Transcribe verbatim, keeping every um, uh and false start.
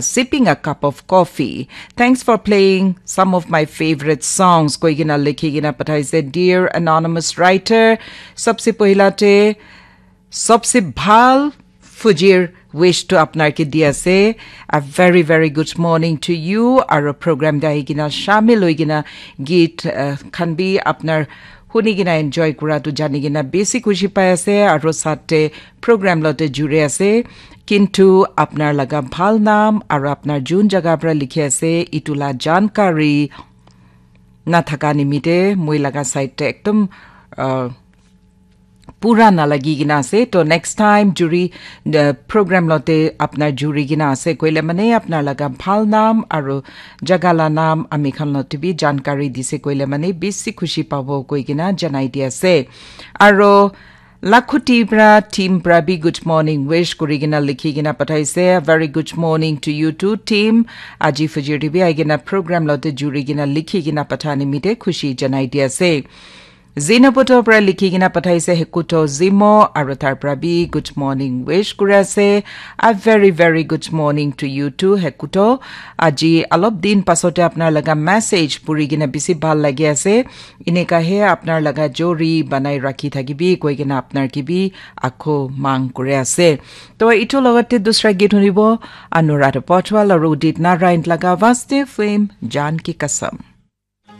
sipping a cup of coffee. Thanks for playing some of my favorite songs. Koi kena likhi kena pathaise, dear anonymous writer. Sabse pohila te, sabse bhal fujir wish to apnar ke di ase. A very, very good morning to you. Aro program te ahi kena shamil hoi kena geet, uh, khan bi apnar huni kena enjoy kura tu jani kena besi khushi pai ase. Aro sate program lote juri ase. Kintu apnar laga bhal nam aro apnar jun jaga pra likhi ase, itu la jankari na thaka nimite moi laga side te ekdom, uh, pura na lagi kena ase. To next time juri, uh, program lote apnar juri kena ase koile mane apnar laga bhal nam aro jaga la nam ami khan lote bi jankari dise koile mane besi khushi pabo koi kena janai di ase. Aro Lakhuti pra team pra bi good morning wish kuri kena likhi kena pathaise. A very good morning to you too, team. Aji fujir te bi ahi kena program lote juri kena likhi kena patha nimite khushi janai di ase. Zinapoto pra likhi kena pathaise, Hekuto Zimo, aro tar pra bi good morning wish kuri ase. A very, very good morning to you too, Hekuto. Aji alop din pasote apnar laga message puri kena bisi bhal lagi ase. Eneka he apnar laga jori banai rakhi thakibi koi kena apnar ke bi akho mang kuri ase. To itu logote dusra geet hunibo, Anuradha Potwal aro Udit Narayan laga Vaste Film Jaan Ki Kasam.